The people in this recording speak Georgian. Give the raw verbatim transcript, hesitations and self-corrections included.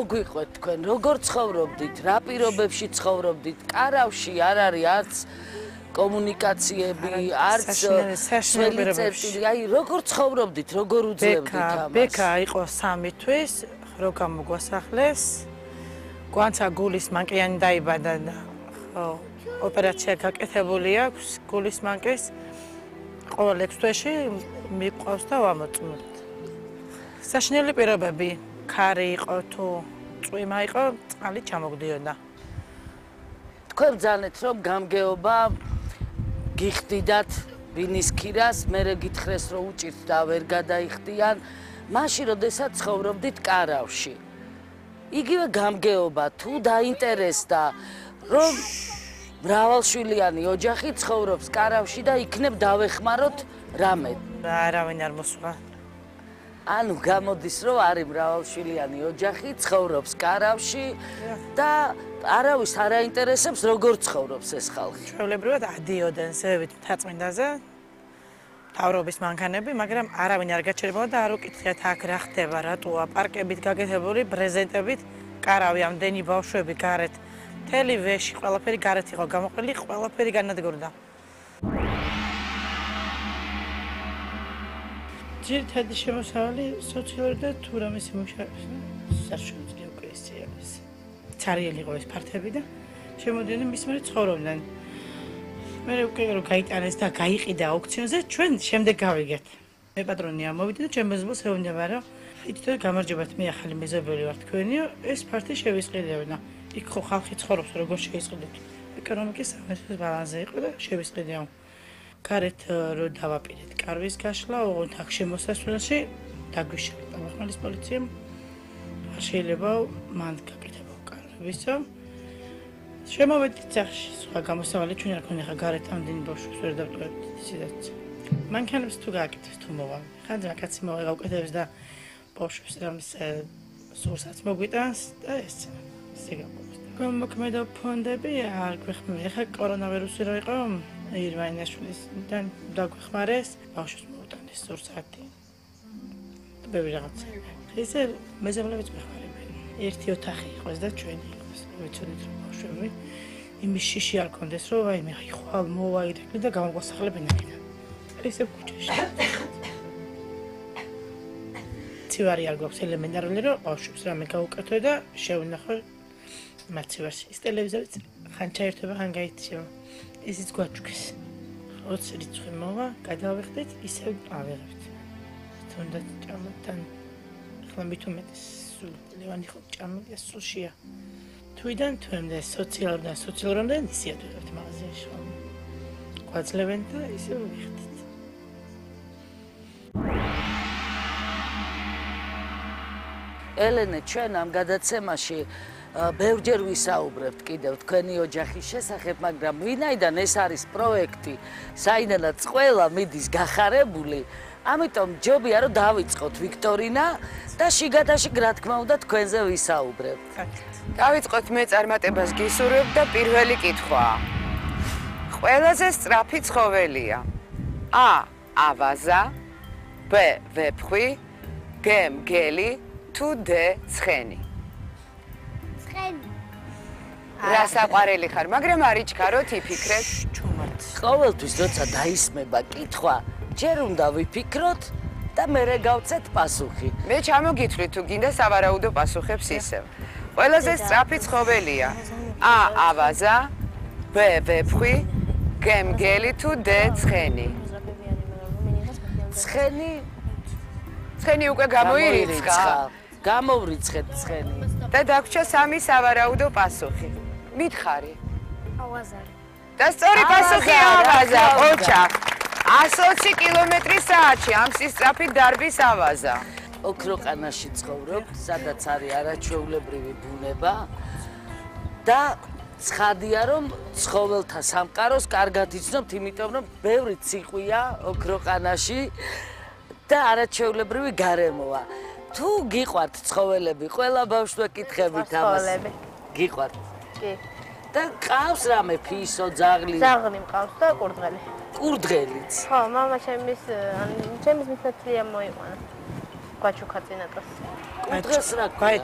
მოგვიყვეთ თქვენ, როგორ ცხოვრობდით, რა პირობებში ცხოვრობდით, კარავში არ არის არც კომუნიკაციები, არც საშინელი წერტილი, აი როგორ ცხოვრობდით, როგორ უძლებდით ამას? ბექა იყო სამი თვის, რო გამოგვასახლეს. გვანცა გულის მანკიანი დაიბადა და ხო, ოპერაცია გაკეთებული აქვს გულის მანკის. ყოველ ექვს თვეში მიყვავს და ვამოწმოთ. საშინელი პირობები, ქარი იყო თუ წვიმა იყო, წყალი ჩამოგდიოდა. თქვენ ბრძანეთ, რომ გამგეობა გიხდიდათ ბინის ქირას, მერე გითხრეს, რომ უჭირთ და ვერ გადაიხდიან, მაშინ როდესაც ცხოვრობდით კარავში. იგივე გამგეობა თუ დაინტერესდა, რომ მრავალშვილიანი ოჯახი ცხოვრობს კარავში და იქნებ დავეხმაროთ რამე. არავინ არ მოსვლა. ანუ გამოდის, რომ არის მრავალშვილიანი ოჯახი, ცხოვრობს კარავში და არავის არ აინტერესებს, როგორ ცხოვრობს ეს ხალხი. ჩვეულებრივად ადიოდნენ ზევით მთაწმინდაზე, მთავრობის მანქანები, მაგრამ არავინ არ გაჩერებოდა და არ უკითხეთ აქ რა ხდება, რატოა პარკებით გაკეთებული, ბრეზენტებით, კარავი ამდენი ბავშვები გარეთ, მთელი ვეში, ყველაფერი გარეთ იყო გამოყრილი, ყველაფერი განადგურდა. ძირითადი შემოსავალი სოციალური და თუ რამის მუშაობს, საშუალო უკვე ისე არის. ცარიელი იყო ეს ფართები და შემოდიოდნენ მის მერე ცხოვრობდნენ. მე უკვე რომ გაიტანეს და გაიყიდა აუქციონზე, ჩვენ შემდეგ გავიგეთ. მე პატრონი ამოვიდა და ჩემ მეზობელს ეუბნება, რომ ითითო გამარჯობათ, მე ახალი მეზობელი ვარ თქვენიო, ეს ფართი შევისყიდევნა. იქ ხო ხალხი ცხოვრობს, როგორ შეისყიდეთ. ეკონომიკის სამართლის ბალანსზე იყო და შევისყიდეო. გარეთ რო დავაპირეთ კარვის გაშლა, ოღონდ აქ შემოსასვლელში დაგვიშალა ტალახმალის პოლიციამ. არ შეიძლება მან გაკეთებო კარვისო. შემოვედით სახში, სხვა გამოსავალი ჩვენ არ ქონია ხა გარეთ ამდენი ბავშვებს ვერ დავტოვებთ ისედაც. მანქანებს თუ გააკეთებს თუ მოვა. ხან რაკაცი მოვა გავკეთებს და ბავშვებს რამის სურსაც მოგვიტანს და ეს ესე გაგვაქვს. გამოქმედა ფონდები არ გვეხმარება. ხა კორონავირუსი რო იყო, ირვაინაშვილისთან დაგვეხმარეს, ბავშვებს მოუტანეს სურსათი. და ბევრი რაღაცა. ესე მეზობლებიც გვეხმარებიან. ერთი ოთახი იყოს და ჩვენი იყოს. ვიცოდით რომ ბავშვები იმის შიში არ კონდეს, რომ აი მე ხვალ მოვა ირეკლი და გამოგვასახლებენ აქედან. ესე ქუჩაში. ცივარი არ გვაქვს ელემენტარული, რომ ბავშვებს რამე გაუკეთო და შევინახო მათ ცივარს. ის ტელევიზორიც ხან ჩაერთვება, ხან გაიჩება. ისიც გვაჩვქეს. ოცი რიცხვი მოვა, გადავიხდით, ისევ ავიღებთ. თუნდაც ჭამთან ახლა მით უმეტეს სულ ლევანი ხო ჭამია სულშია. თვიდან თვემდე სოციალურ და სოციალურამდე ისიად ვიღებთ მაღაზიაში ხო. გვაძლევენ და ისევ ვიხდით. ელენე, ჩვენ ამ გადაცემაში ბევრჯერ ვისაუბრებთ კიდევ თქვენი ოჯახის შესახებ, მაგრამ ვინაიდან ეს არის პროექტი, საიდანაც ყველა მიდის გახარებული, ამიტომ ჯობია რომ დავიწყოთ ვიქტორინა და შიგადაშიგ რა თქმა უნდა თქვენზე ვისაუბრებთ. დავიწყოთ მე წარმატებას გისურვებ და პირველი კითხვა. ყველაზე სწრაფი ცხოველია. A. ავაზა, B. ვეფხვი, G. მგელი, თუ D. ცხენი. რა საყვარელი ხარ, მაგრამ არ იჩქაროთ იფიქრეთ. ყოველთვის როცა დაისმება კითხვა, ჯერ უნდა ვიფიქროთ და მერე გავცეთ პასუხი. მე ჩამოგითვლით თუ გინდა სავარაუდო პასუხებს ისევ. ყველაზე სწრაფი ცხოველია. A. ავაზა, B. ვეფხვი, G. მგელი თუ D. ცხენი. ცხენი? ცხენი უკვე გამოირიცხა. გამოვრიცხეთ ცხენი. და დაგვრჩა სამი სავარაუდო პასუხი. მითხარი. ავაზა. და სწორი პასუხი ავაზა, ოჩა. ას ოცი კილომეტრი საათში ამ სისწრაფით დარბის ავაზა. ოქროყანაში ცხოვრობ, სადაც არის არაჩვეულებრივი ბუნება და ცხადია რომ ცხოველთა სამყაროს კარგად იცნობთ, იმიტომ რომ ბევრი ციყვია ოქროყანაში და არაჩვეულებრივი გარემოა. თუ გიყვართ ცხოველები, ყველა ბავშვს კითხებით ამას. ცხოველები. გიყვართ? კი. და ყავს რამე ფისო, ძაღლი? ძაღლი მყავს და კურდღელი. კურდღელიც. ხო, მამა ჩემის, ჩემის მისნათლია მოიყვანა. გვაჩუქა წინატას. კურდღელს რა ქვია?